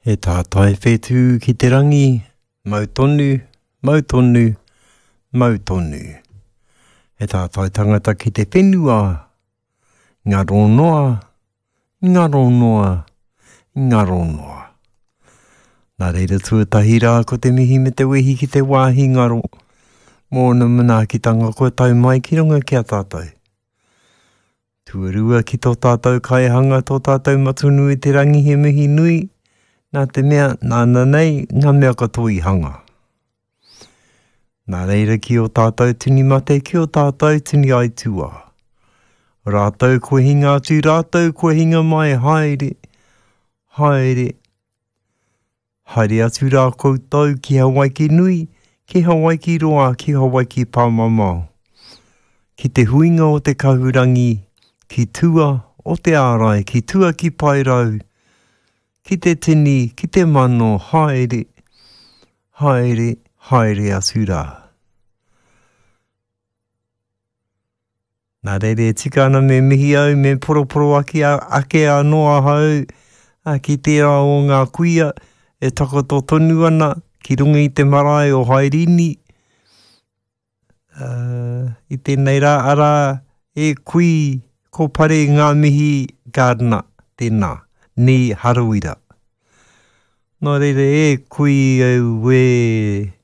He tātai whetū ki te rangi, mau tonu, mau tonu, mau tonu. He tātai tangata ki te whenua, ngaro noa, ngaro noa, ngaro noa. Nā reira tuatahi rā ko te mihi me te wehi ki te wāhi ngaro, mōna manaakitanga kua tau mai ki runga ki a tātou. Tuarua ki tō tātou kaihanga, tō tātou Matua i te Rangi he mihi nui, nā te mea, nāna nei ngā mea katoa i hanga. Nā reira ki ō tātou tini mate, ki ō tātou tini aituā. Rātou kua hinga atu, rātou kua hinga mai, haere, haere, Haere atu rā koutou ki Hawaiki nui, ki Hawaiki roa, ki Hawaiki pāmamao. Ki te huinga o te kahurangi, ki tua o te ārai, ki tua ki Paerau, ki te tini, ki te mano, haere, haere, haere atu rā. Nā reira e tika ana me mihi au, me poroporoaki ake anō ahau ki tērā o ngā kuia e takoto tonu ana ki runga i te marae o Hairini i tēnei rā, arā, e kui ko Pare ngā mihi Gardiner, tēnā, nī Harawira. Nō reira e kui auē.